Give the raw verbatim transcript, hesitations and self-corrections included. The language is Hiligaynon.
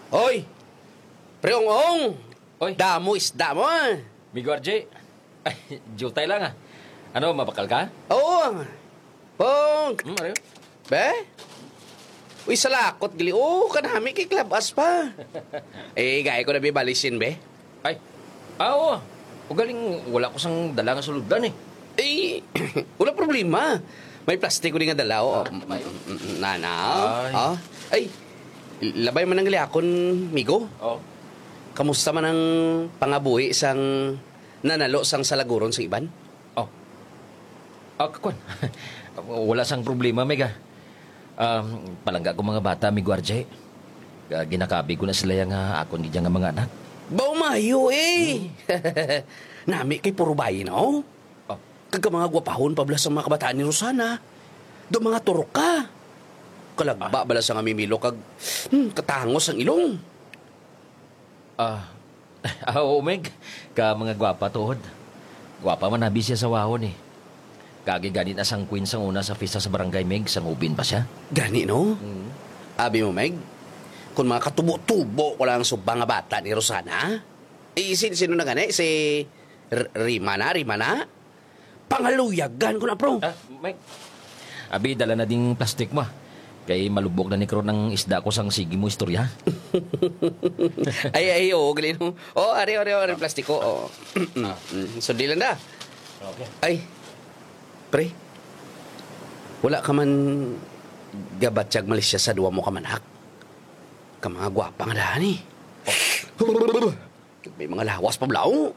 Hoy! Pre Ong-ong! Oy. Damo isda mo, ah. Migo R J. Ay, jutay lang, ah. Ano, mabakal ka? Oo. Pong! Hmm, ano yun? Be? Uy, salakot gali. Oh, kanami kay klabas pa. Eh, gaya ko na bibalisin, be. Ay. Ah, oo. Ugaling wala ko sang dala nga suludan, eh. Eh, wala problema. May plastic ko din nga dala, oh. Ah, may. Mm, mm, mm, na, na, oh. Ay. Oh. Ay, labay man ang liakon, migo. Oh. Kamusta man ang pangabuhi sang nanalo sang salaguron sa iban? Oh. Ah, kwan. Wala sang problema, Meg, ah. Um, palangga ko mga bata, Migo R J. Ah, ginakabig ko na sila yang, ah, akon gid nga mga anak. Baw mayo, eh. Nami kay puro bayi na, oh. Oh. Kag ka mga gwapahon pa bala sang mga kabataan ni Rosana. Do mga turok ka. Kalagba Ah. bala sa nga mimilo kag, hmm, katangos ang ilong. Ah, ah, oo, Meg. Ka mga gwapa, tuod. Gwapa man abi siya sa wahon, eh. Kagi gani na sang queen sang una sa fiesta sa barangay, Meg, sang hubin pa siya. Gani, no? Mm. Abi mo, Meg, kung mga katubo-tubo ko lang ang subang nga bata ni Rosana, eh, sin-, sino na gani? Si R-, Rima na? Rima na? Pangaluyagan ko na, bro. Ah, Mike. Abi, dala na ding plastic mo, ah. Kay malubok na ni karon ang isda ko sang sige mo istorya. Ay, ay, oo, gali, no? Oh, ari, ari, ari, plastic ko, oh. Mm, sundili lang da. Okay. Ay, pre, wala ka man gabatyag malisya sa duwa mo ka manak? Ka mga gwapa nga dahan, eh. May mga lawas pa, balaw.